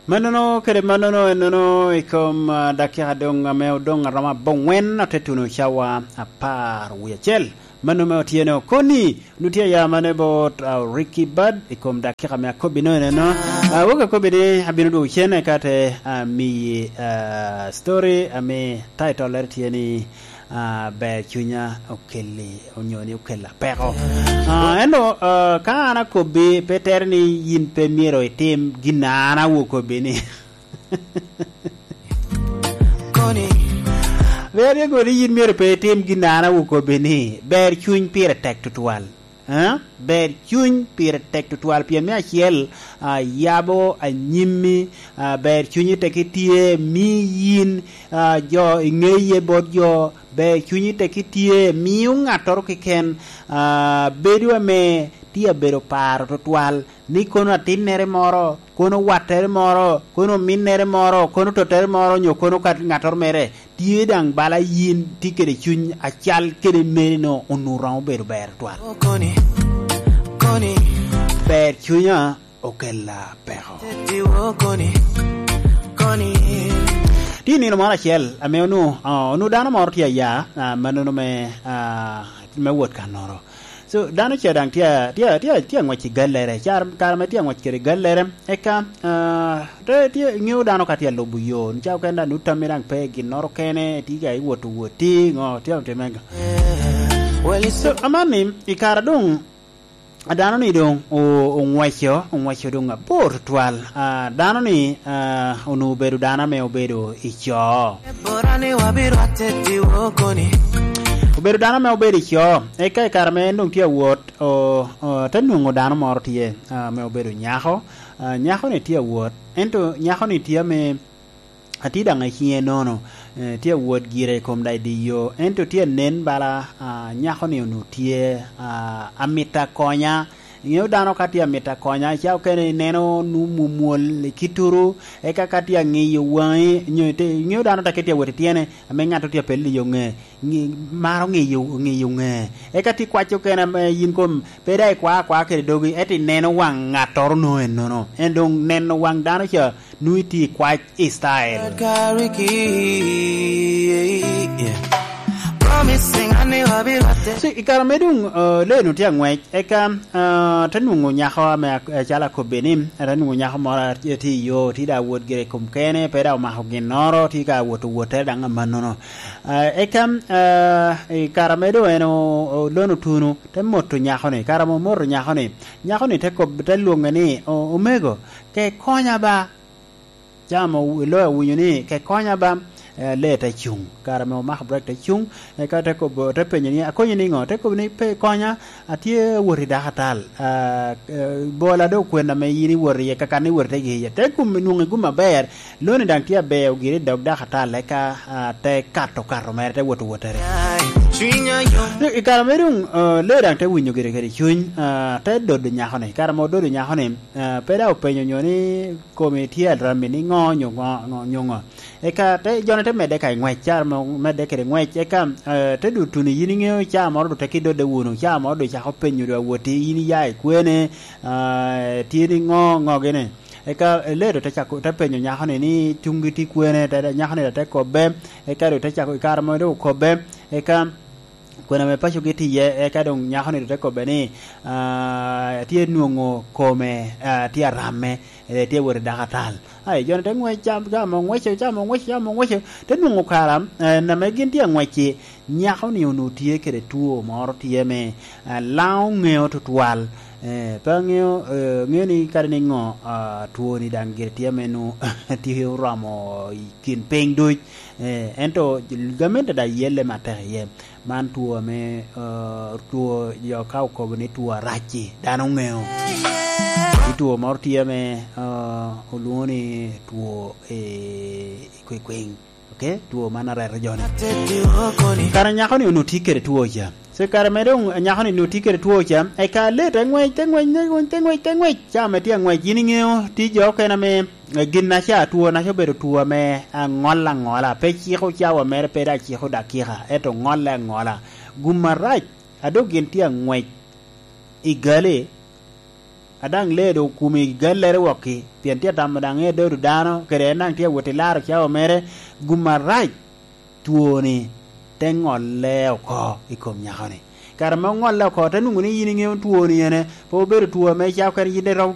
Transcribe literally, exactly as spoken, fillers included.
Mannono kede mannono ennono i kom, ah, dakika doŋ ame odoŋ aromo abongwen, ote tuno cawa apar wie acel. Mano me otyeno koni, nu tye ya mane bot, ah, Ricky Bad i kom dakika me akobbi no ennono. Ah, wok akobbi ni abino dwogo cen eka te, ah, miyi, ah, story ame title-lere tye ni, ah, ber cunya okelli, onyo ni okella peko. Ah, ento, ah, ka an akobbi, pe tere ni yin pe myero itim gin a an awo kobbi ni. Koni. Pe tere ni yin myero pe itim gin a an awo kobbi ni. Ber cuny pire tek tutwal. Eh? Ber cuny pire tek tutwal, pien me acel, ah, yabo anyimmi, ah, ber cunyi tek itye, mi yin, ah, jo, iŋeye bot jo, ber cunyi tek itye, miyo ŋattoro keken, ah, bedo ame tye abedo paro tutwal, ni kono atinnere moro, kono wattere moro, kono ominnere moro, kono tottere moro, onyo kono ka-, ŋattoro mere, tye daŋ bala yin tye kede cuny acal kede meri-no, onwoŋo romo bedo ber twal. Koni, koni. Ber cunya okella peko. Tye nino moro acel ame onwoŋo, ah, onwoŋo dano moro tye aya, ah, mannono me, ah, me wot kannoro. So, dano ca daŋ tye a-, tye a-, tye a-, tye aŋwec i gallere. Car-, kare ame tye aŋwec kede gallere, eka, ah, te, tye, iŋeo dano ka tye alubo yo, nicawa okene daŋ nut tammi daŋ pe ginnoro kene, tye ka iwot owotti, ŋo, tye otime ga. So, amanni, i kare doŋ, dano-ni doŋ o-, oŋweco, oŋweco doŋ abor tutwal. Ah, dano-ni, ah, onwoŋo obedo dano ame obedo i co. Obedo dano ame obedo i co, eka i kare ame en doŋ tye awot, o-, o-, te nwoŋo dano moro tye, ah, ame obedo nyako. Ah, nyako-ni tye awot, ento nyako-ni tye ame, atye daŋ i ciŋe nono, eh, tye awot gire i kom daŋ i dye yo, ento tye anen bala, ah, nyako-ni onwoŋo tye, ah, amito akonya. Iŋeo dano ka tye amito akonya, ca okene ineno nu mwomwol i kitturu, eka ka tye aŋiyo waŋi, nyo ite-, iŋeo dano ta ke tye awot i tyene, ame ŋat tye apello i yo ŋe, ŋi-, maro ŋiyo, ŋiyo ŋe. Eka tye kwac okene ame yin kom, pe daŋ ikwa akwa kede dogi, ento ineno waŋ ŋattoro no ennono. En doŋ neno waŋ dano ca, nu itye i kwac i style. So, i kare me doŋ, eh, lee-nu tye aŋwec, eka, eh, te nwoŋo nyako ame ak-, acalo akobbe ni, te nwoŋo nyako moro a-, tye i yo, tye daŋ awot gire i kom kene, pe daŋ omako ginnoro, tye ka wot owottere daŋ amannono. Eh, eka, eh, i kare ame doŋ en o-, o-, lono tuno, te moto nyako-ni. Kare ame omoto nyako-ni, nyako-ni te kob-, te lwoŋe ni, "O-, omego, ke konya ba." Ca ame ow-, loyo owinyo ni, "Ke konya ba," eh, lee te cuŋ. Kare ame omako brek te cuŋ, eka te kobo, te penyo ni, "Akonyi niŋo?" Te kobo ni, "Pe konya, atye awot i dakatal. Ah, eh, bola do kwena ame yin iwot iye, kakan iwot ite iye." Te gum, nwoŋo i gum aber, loni daŋ tye aber, ogire i dog dakatal, eka, ah, te kato kato mere, te wot wottere. I kare ame doŋ, ah, lee daŋ te winyo gire kede cuny, ah, te dodo nyako-ni. Kare ame ododo nyako-ni, ah, pe daŋ openyo nyo ni, "Komi tye arammi ni ŋo, nyo ŋo, ŋo, nyo ŋo?" Eka te, jo-ni te medde ka i ŋwec, ca ame medde kede ŋwec, eka, eh, te dutu ni, "Yin iŋeo ca moro doŋ teke idodde wunu, ca moro doŋ icako penyo doŋ awoti, yin iya i kwene, ah, tye ni ŋo, ŋo gini?" Eka, eh, lee doŋ te cako, te penyo nyako-ni ni, "Cuŋgi tye kwene?" Te, nyako-ni doŋ te kobbe, eka doŋ te cako, i kare ame doŋ okobbe, eka kwena ame pacogi tye iye, eka doŋ nyako-ni doŋ te kobbe ni, "Ah, tye nwoŋo kome, ah, tye aramme, eh, tye wot i dakatal." Ai, jo-ni te ŋwec, cam, cam oŋweco, cam oŋweco, cam oŋweco, te nwoŋo kara, eh, ame gin tye aŋwec-ci, nyako-ni onwoŋo tye kede two moro tye ame, eh, laŋo ŋeo tutwal. Eh, pe aŋeo, eh, ŋeo ni kadi niŋo, ah, two-ni daŋ gire tye ame nwoŋo tye oromo i kin piny duc. Eh, ento gamente daŋ yelle matek iye. Man two ame, eh, two jo ka okobo ni two arac-ci, dano ŋeo. Ni two moro tye ame, eh, olwoŋo ni two, eh, i kwekweng. Ok, two man areto jo-ni. Kara nyako-ni onwoŋo tye kede two ca. So, kare me doŋ nyako-ni onwoŋo tye kede two ca, eka lee te ŋwec, te ŋwec, te ŋwec, te ŋwec, te ŋwec. Ca ame tye aŋwec, yin iŋeo, tye jo okene ame, eh, gin-naca, two-naca obedo two ame aŋol aŋola, pe ciko cawa mere, pe daŋ ciko dakika, ento ŋolle aŋola. Gum arac, a doŋ gin tye aŋwec i gali, a daŋ lee doŋ okumo i gallere wokki, pien tye atamo daŋ ŋeo dodo dano, kede en daŋ tye awot i laro cawa mere, gum arac twoni te ŋolle oko i kom nyako-ni. Kare ame oŋolle oko, te nwoŋo ni yin iŋeo twoni ene, pe obedo two ame icako kene yin iromo